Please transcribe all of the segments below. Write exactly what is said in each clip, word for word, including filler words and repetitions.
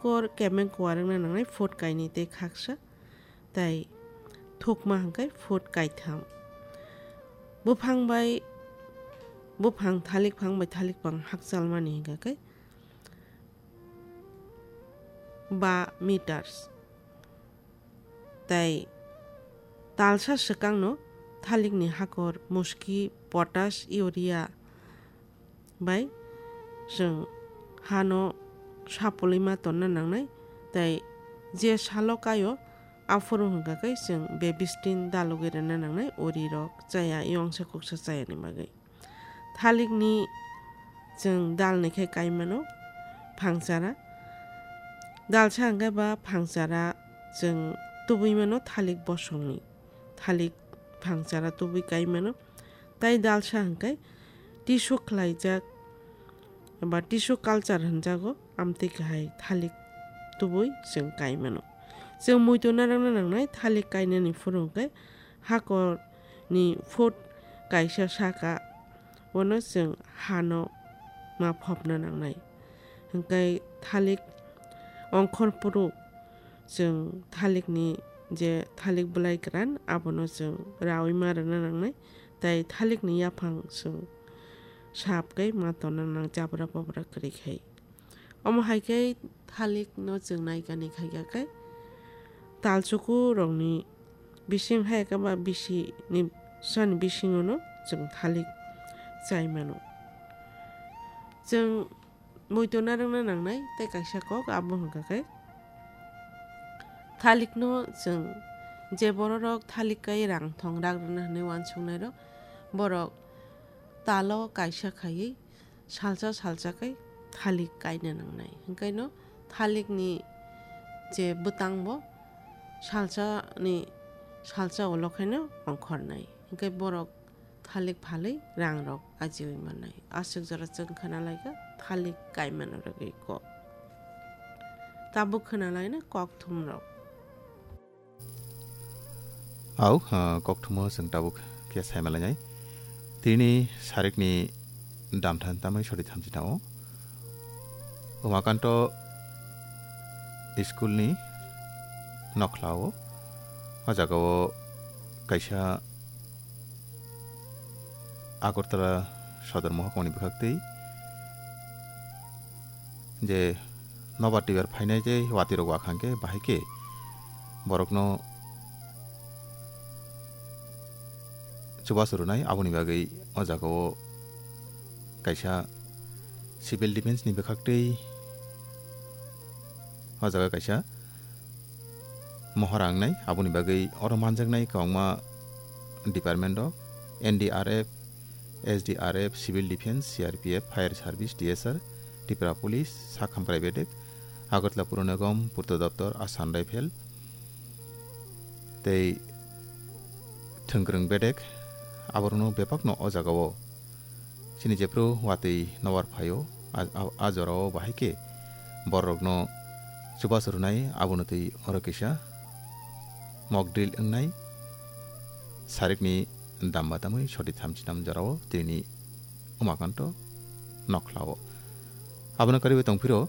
Hakor kemeng kuarwngna nangnai foot kainwi tei khaksa, tei thukma hwnkhe foot kaitham. Buphang bai buphang, thalik phang bai thalik phang hakchalmani hwnkha khe ba meters. Tei talsa swkangno thalikni hakor muski, potash, urea bai chwng hano sapulwi ma tonna nangnai, tei je salo kaio aphuru hwnkha khe chwng bebistin dalogwi rwna nangnai, uri rok chaya, yongsa kuksa chayani bagwi. Thalikni chwng dalni khe kai mano phangchara. Dalsa hwnkhe ba phangchara chwng tubui mano thalik bosongni. Thalik phangchara tubui kai mano. Tai dalsa hwnkhe tissue khlaijak ba tissue culture hwnjago, amtwi kahai thalik tubui chwng kai mano. Chwng muitu narwkna nangnai thalik kainani phuru hwnkhe hakorni foot kaisa saka, bono chwng hano ma phopna nangnai. Hwnkhe thalik ongkhor phuru chwng thalikni je thalik bwlai kwran, abono chwng raui ma rwna nangnai, tei thalikni yaphang chwng sap khe ma tonna nang, jabra babra kwrwi khai. Omo hai khe thalikno chwng naikani khaikha khe talchukurokni bising hai khe ba bisini sani bisingono chwng thalik chai mano. Chwng muitu narwkna nangnai tei kaisa kok abo hwnkha khe thalikno chwng je bororok thalik kai rang thong rak rwna hwnwi uansuknairok, borok talo kaisa khaiwi salsa salsa khe thalik kaina nangnai. Hwnkhe no thalikni je bwtangbo salsani salsa ulo khaino ongkhornai. Hwnkhe borok thalik phalwi rangrok ajiui mannai. Aswk jora chwng khna laikha thalik kaimano rwgwi kok. Tabuk khna laina kokthumrok. Au, ah, kokthumo chwng tabuk khe saimalainai. Tini sarikni damthan tamai sori thamchi tao. Umakanto school ni nokhlao, o jagao kaisa Agartala sodor mohokmani bwkhaktwi je nobar tibar phainai tei watwi rok wakhang khe bahai khe borokno chubachu rwnai, aboni bagwi o jagao kaisa civil defence ni bwkhaktwi o jaga kaisa mohor ang nai, aboni bagwi oro manjaknai kwbangma department rok, N D R F, S D R F, Civil Defence, C R P F, Fire Service, T S R, Tripura Police, sak hamkrai bedek, Agartala Puro Nigam, Purta Doptor, Assam Rifle, tei thwngkwrwng bedek, aborokno bebakno o jagao chini jephru watwi nobar phaio, a, a, a jorao bahai khe bororokno chubachu rwnai, abono twi oro kisa mock drill wngnai, sarikni damba tamwi soti thamchi tam jorao tini Umakanto nokhlao. Abono karwi tongphiro,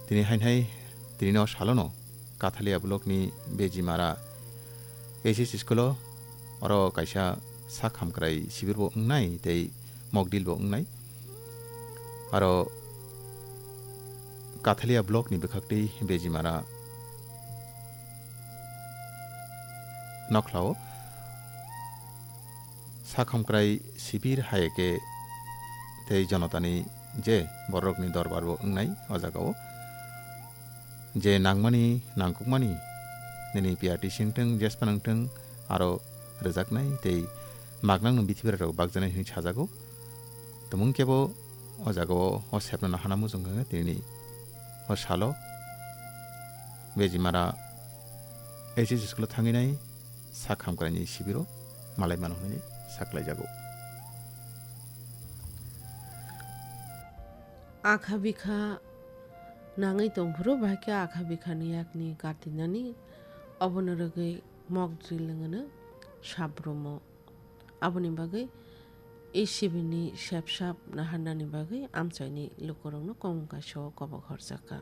tini hainhai tini no salono Kathalia block ni Bejimara H S school o oro kaisa sak hamkrai sibir bo wngnai tei mock drill bo wngnai. Aro Kathalia block ni bwkhaktwi Bejimara nokhlao sak hamkrai sibir hai khe tei jonotani je borokni dorbar bo wngnai o jagao. Je nangmani, nangkukmani, nini P R T C wngthung, jesphano wngthung, aro rwjaknai tei maknangno bithi berarok bakjaknai hwnwi sajago. Tongmung kebo o jagao o sepnano hana muchung khe tini o salo Bejimara H S school o thangwi nai sak hamkraini sibiro malai mano hwnwi saklaijago. Akha bikha nangwi tongphuru, bahai khe akha bikhani yakni katinani, obono rwgwi mock drill wngno sabrumo. Aboni bagwi E C B ni sepsap naharnani bagwi amchaini lukurokno komung kaisa o kobok horjakha.